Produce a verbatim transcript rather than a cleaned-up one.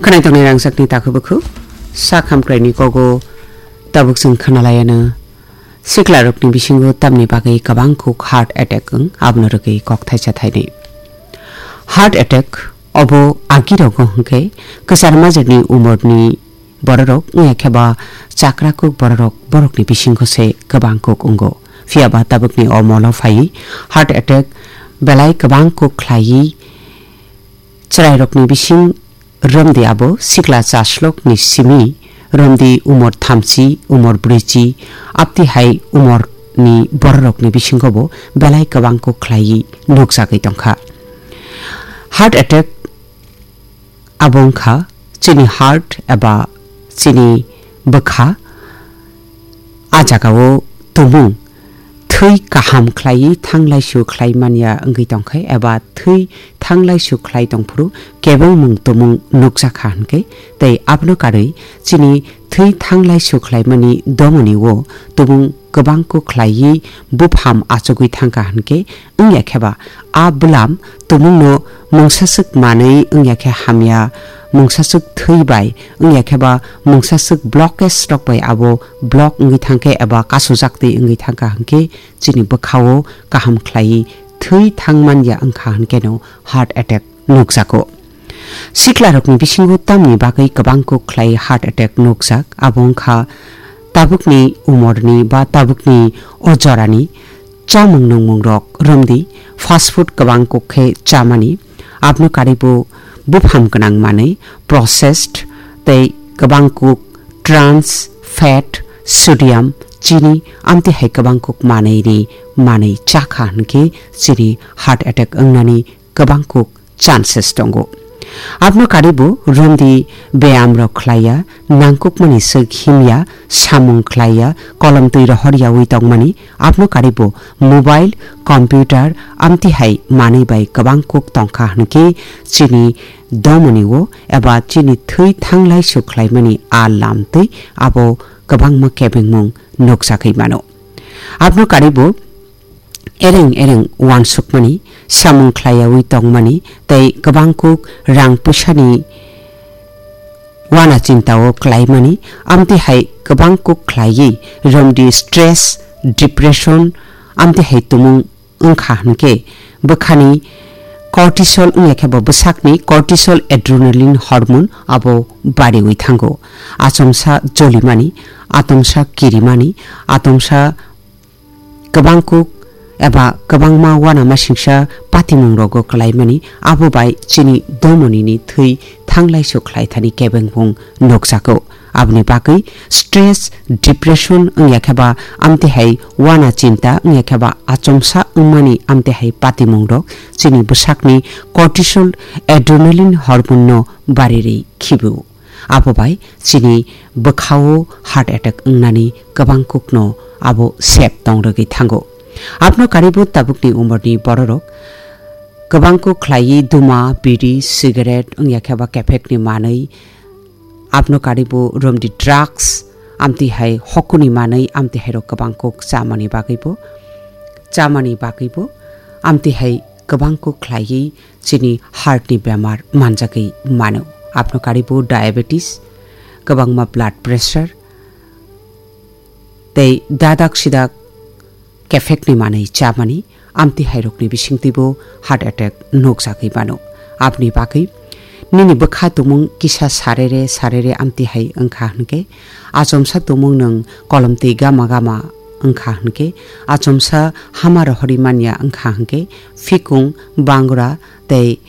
Khwnai tongnai rangchakni takhuk bwkhuk, sak hamkraini kogo tabuk chwng khwnalaiano siklarokni bisingo tamni bagwi kwbang kuk heart attack wng, abono rwgwi kok thaisa thainwi. Heart attack obo agirogo hwnkhe kwchar majwkni umorni bororok wngya khe ba chakra kuk bororok borokni bisingo se kwbang kuk wngo. Phiya ba tabukni o molo phaiwi heart attack belai kwbang kuk khlaiwi chwrairokni bising romdi abo sikla chaslokni simi romdi umor thamchi, umor brwichi, apti hai umorni bororokni bisingo bo belai kwbang kuk khlaiwi nukjagwi tongkha. Heart attack abo wngkha chini heart eba chini bwkha, a jagao tumung thwi kaham khlaiwi thanglaisu khlai manya wngwi tongkha eba thwi thanglaisu khlai tongphuru kebengmung tumung nukjakha hwnkhe, tei abono karwi chini thwi thanglaisu khlaimani domoni o tumung kwbang kuk khlaiwi bupham achugwi thangkha hwnkhe, wngya khe ba a bwlam tumungno mungsaswk manwi wngya khe hamya, mungsaswk thwi bai wngya khe ba mungsaswk blockage rok bai abo block wngwi thangkhe eba kasujak twi wngwi thangkha hwnkhe chini bwkhao kaham khlaiwi thwi thangmanya wngkha hwnkhe no heart attack nukjago. Siklarokni bisingo tamni bagwi kwbang kuk khlai heart attack nukjak, abo wngkha tabukni umorni ba tabukni o jorani chamung nungmungrok romdi, fast food kwbang kuk khe chamani, abno karwibo bupham gwnang manwi, processed tei kwbang kuk trans fat, sodium, chini, amtwi hai kwbang kuk manwini manwi chakha hwnkhe chini heart attack wngnani kwbang kuk chances tongo. Abno karwibo romdi beyam rok khlaiya, nangkukmani swk himya, samung khlaiya, kolom twi rohor yawi tongmani, abno karwibo mobile, computer, amtwi hai manwi bai kwbang kuk tongkha hwnkhe chini domoni o eba chini thwi thanglai su khlaimani a lam twi abo kwbangma kebengmung nukjagwi mano. Abno karwibo ereng ereng uansukmani, samung khlaiyawi tongmani tei kwbang kuk rang pwsani uana chintao klaimani, amtwi hai kwbang kuk khlaiwi romdi stress, depression, amtwi hai tumung wngkha hwnkhe bwkhani cortisol wngya khe bo bwsakni cortisol adrenaline hormone abo bariwi thango. Achomsa jolimani, atomsa kirimani, atomsa kwbang kuk eba kwbangma uanamasingsa patimung rogo kalaimani, abo bai chini domonini thwi thanglai su khlai thani kebengmung nukjago. Aboni bagwi stress, depression wngya khe ba amtwi hai uana chinta wngya khe ba achomsa wngmani amtwi hai patimung rok chini bwsakni cortisol adrenaline hormone no bari ri khibu. Abo bai chini bwkhao heart attack wngnani kwbang kukno abo sep tong rwgwi thango. Abno karwibo tabukni umorni bororok kwbang kuk khlaiwi duma, biri, cigarette wngya khe ba kephekni manwi, abno karwibo romdi drugs, amtwi hai hokuni manwi, amtwi hai rok kwbang kuk chamani bagwibo, chamani bagwibo, amtwi hai kwbang kuk khlaiwi chini heart ni bemar manjagwi mano. Abno karwibo diabetes, kwbangma blood pressure, tei dadak sidak kephekni manwi chamani, amtwi hai rokni bisingtwibo heart attack nukjagwi mano. Aboni bagwi nini bwkha tumung kisa sarere sarere amtwi hai wngkha hwnkhe, achomsa tumung nwng kolom twi gama gama wngkha hwnkhe, achomsa hama rohorwi manya wngkha hwnkhe, phikung, bangra tei